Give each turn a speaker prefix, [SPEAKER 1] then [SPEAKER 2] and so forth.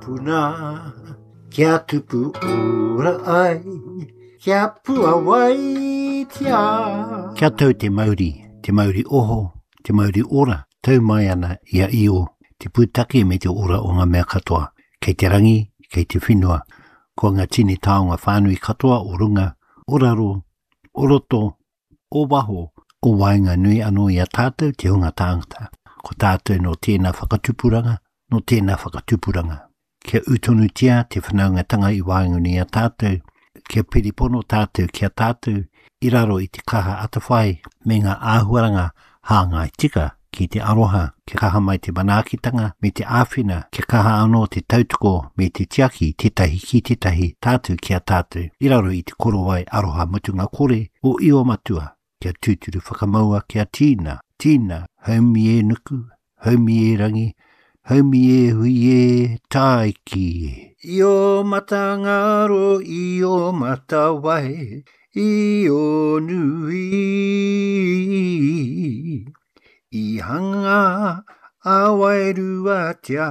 [SPEAKER 1] Puna, kia tupu ora ai, kia puawaitia.
[SPEAKER 2] Kia tau te mauri, te mauri oho, te mauri ora, tau mai ana i a Io, te pūtake me te ora o ngā mea katoa, kei te rangi, kei te whenua, ko ngā tini taonga whānui katoa o runga, o raro, o roto, o waho, o waenganui anō i a tātou te hunga tāngata. Ko tātou nō tēnā whakatupuranga, nō tēnā whakatupuranga. Kia ū tonutia te whanaungatanga i waenganui i a tātou, kia piripono tātou ki a tātou i raro i te kaha atawhai me ngā āhuaranga hāngai tika ki te aroha, kia kaha mai te manaakitanga me te āwhina, kia kaha anō te tautoko me te tiaki tētahi ki tētahi, tātou ki a tātou, i raro i te korowai aroha mutunga kore o Io Matua, kia tūturu whakamaua kia tīna, tīna, haumi e nuku, haumi e rangi, haumi e hui e, tāiki e.
[SPEAKER 1] I ō matangaro, i ō matawai, i ō nui, i hanga a wairuatia.